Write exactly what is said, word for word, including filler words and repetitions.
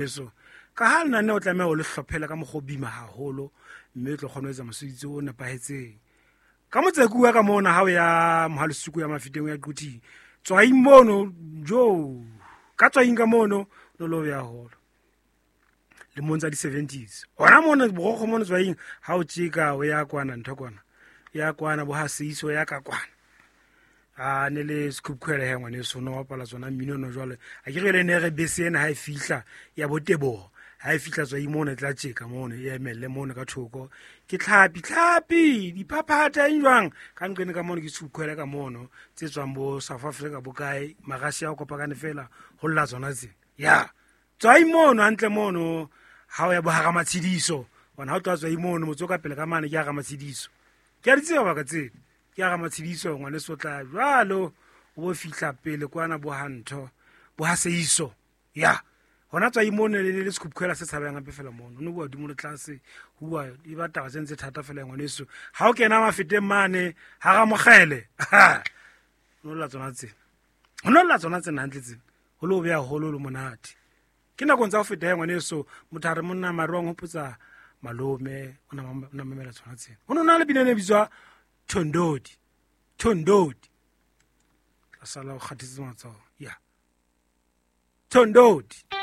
Eso ka ha lenaneo o tlameha o le hlophela ka mokgwa o boima haholo, mme o tlo kgona ho etsa mosebetsi o nepahetseng. Ka motseku wa ka mona ha o ya Mohalesuku ya Mafeteng o ya Quthing, Tswaing mono, jo ka Tswaing ka mono no lo ya holo lemong tsa di-seventies. Hona mono borokgo mono Tswaing ha o tjeka o ya kwana ntho kwana, ya kwana bo ha Seiso ya ka kwana. A ne le sekhukhuele he ngwaneso, no bapala tsona mmino no jwale. A ke re le ne re bese ena ha e fihla ya Boteboho, ha e fihla Tswaing mono e tla tjeka mono, e emelle mono ka thoko. Ke tlhapi tlhapi diphaphatha eng jwang ka nqene ka mono, ke sekhukhuele ka mono tse tswang bo South Africa bo kae, Marussia a kopakane fela ho lla tsona tsena. Ya Tswaing mono hantle mono ha o ya bo hara Matshidiso, bona ha o tloha Tswaing mono motse o ka pele ka mane ke hara Matshidiso. Ke a di tseba baka tsena, ke hara Matshidiso ngwaneso tla jwalo o bo fihla pele kwana bo ha ntho bo ha Seiso. Ya hona Tswaing mono le le sekhukhuela se tshabehang hape fela mono, no bua hodimo le tlase, ho bua e ba taba tse ntse thata fela ngwaneso. Ha o kena Mafeteng mane hara Mokgele, no lla tsona tsena, ho no lla tsona tsena hantle tsena, ho lo beha holo le monate. Ke nakong tsa ho feta he ngwaneso, motho a re monna mare wa nghopotsa malome o na mam-, o na mamela tsona tsena. Ho no na le pina e ne bitswa Thondodi, Thondodi. Tla sala o kgathetse matsoho. Ya Thondodi.